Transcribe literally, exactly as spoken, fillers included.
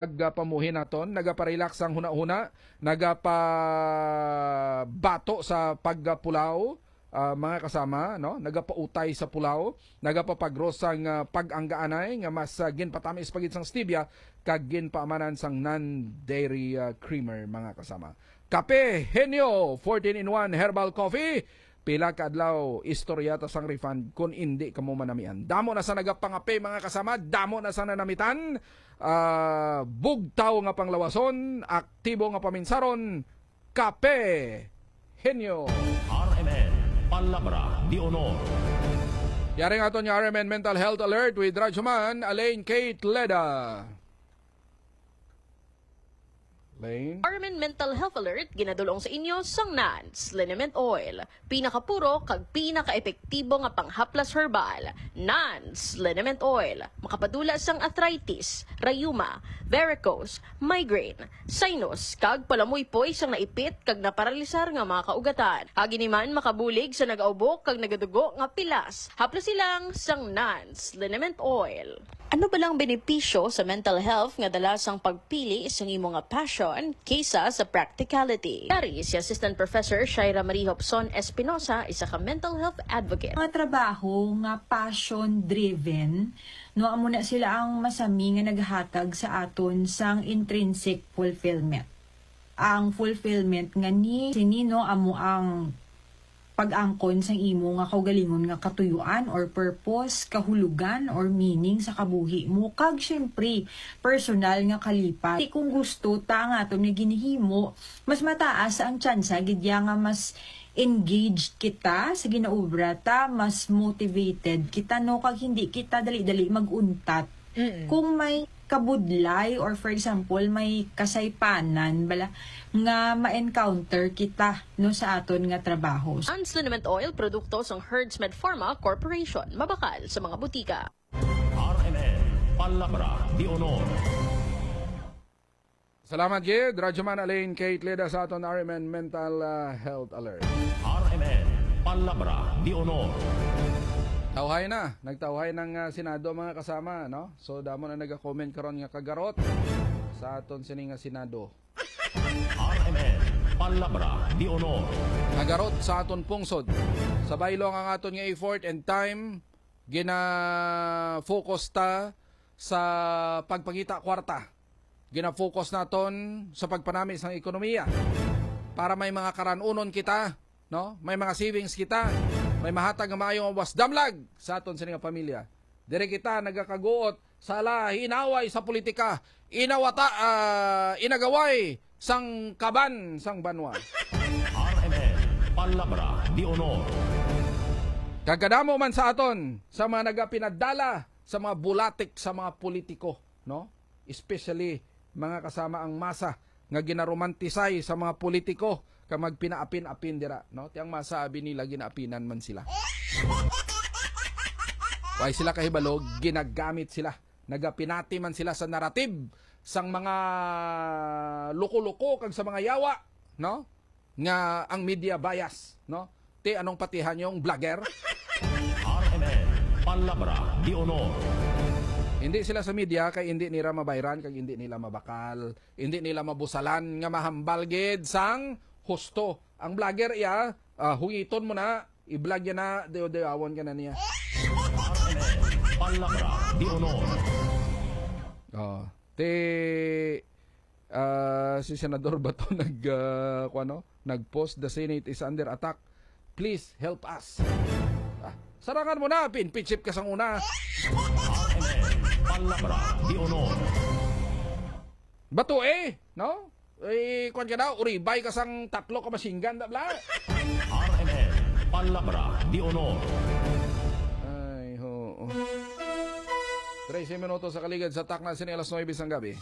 nagapamuhi naton, nagaparelax sang hunahuna, nagapabato sa pagpulaw, ah, mga kasama, no? Nagapautay sa pulaw, nagapapagros sang, ah, pag-anggaanay nga mas, ah, ginpatamis pa gid sang stevia kag ginpaamanan sang non-dairy, ah, creamer, mga kasama. Kape Henyo, fourteen in one herbal coffee. Pila ka adlaw, istorya ta sang refund kon indi kamo manamian. Damo na sa nagapangape, mga kasama, damo na sa nanamitan. Ah, bugtaw nga panglawason, aktibo nga paminsaron, Kape Henyo. R M N, Palabra de Honor. Yari nga aton nga R M N Mental Health Alert with Radyoman Alain Kate Leda. Lane? R M N Mental Health Alert, ginadulong sa inyo sang Nans Liniment Oil. Pinakapuro kag pinakaepektibo nga panghaplas herbal, Nans Liniment Oil. Makapadula sang arthritis, rayuma, varicose, migraine, sinus, kag palamuypoy sang naipit kag naparalisar nga mga kaugatan. Agi ni man makabulig sa nagaubok kag nagadugo nga pilas. Haplasi lang sang Nans Liniment Oil. Ano bala ang benepisyo sa mental health nga dala sang pagpili sang imo nga passion kaysa sa practicality? Yari si Assistant Professor Shaira Marie Hopson Espinosa, isa ka mental health advocate. Mga trabaho nga passion-driven, no, amo na sila ang masami nga naghatag sa aton sang intrinsic fulfillment. Ang fulfillment nga ni sini, no, amo ang pag-angkon sang imo nga kaugalingon nga katuyuan or purpose, kahulugan or meaning sa kabuhi mo, kag siyempre, personal nga kalipay. Ti kung gusto ta nga aton nga ginhimo, mas mataas ang tsansa gid ya nga mas engaged kita sa ginaobra ta, mas motivated kita, no, kag hindi kita dali-dali mag-untat. Mm-mm. Kung may kabudlay or, for example, may kasaypanan bala nga ma-encounter kita, no, sa aton nga trabaho. Ang Liniment Oil, produkto sang Herdsmed Pharma Corporation, mabakal sa mga butika. R M N, Palabra de Honor. Salamat gid, Radyoman Alain Kate Leda sa aton R M N Mental, ah, Health Alert. R M N, Palabra de Honor. Tawhay na, nagtawhay ng, ah, Senado, mga kasama, no? So, damo na nag-comment karon nga kagarot sa aton sini nga Senado. R M N, Palabra de Honor. Kagarot sa aton pungsod. Sabay lang ang aton nga effort and time, gina-focus ta sa pagpangita kwarta. Gina-focus naton sa pagpanami sang ekonomiya para may mga karan-unon kita, no? May mga savings kita, may mahatag nga maayo nga buwas, damlag sa aton sini nga pamilya. Diri kita nagakaguot sa ala, inaway sa politika, inawata, ah, inagaway sang kaban sang banwa. R M N, Palabra de Honor. Kag kadamo man sa aton sa mga nagapinadala sa mga bulatik sa mga politiko, no? Especially mga kasama ang masa nga ginaromantisay sa mga politiko kag magpinaapin-apin dira, no? Ti ang masa abi nila ginaapinan man sila. Way sila kahibalo, ginagamit sila. Nagapinati man sila sa narrative sang mga loko-loko kag sa mga yawa, no? Nga ang media bias, no? Ti anong patihan yung vlogger? R M N, Palabra de Honor. Hindi sila sa media kay hindi nila mabayran kag hindi nila mabakal, hindi nila mabusalan nga mahambal gid sang husto. Ang vlogger iya, ah, hungiton mo na, i-vlog niya na, dayaw-dayawon ka na niya. R M N, Palabra de Honor. Oh, ti, ah, si Senador Bato nag, ah, kuwan, no? Nag-post, "The Senate is under attack. Please help us." Ah, sarangan mo na, pinpitsip ka sang una. R M N, Palabra de Honor. Bato eh, no? Eh, kuwan ka daw, uribay ka sang tatlo ka machine gun, da bla. R M N, Palabra de Honor. Ay, ho. Trese minutos sa kaligad sa takna sini alas nuebe sang gabi.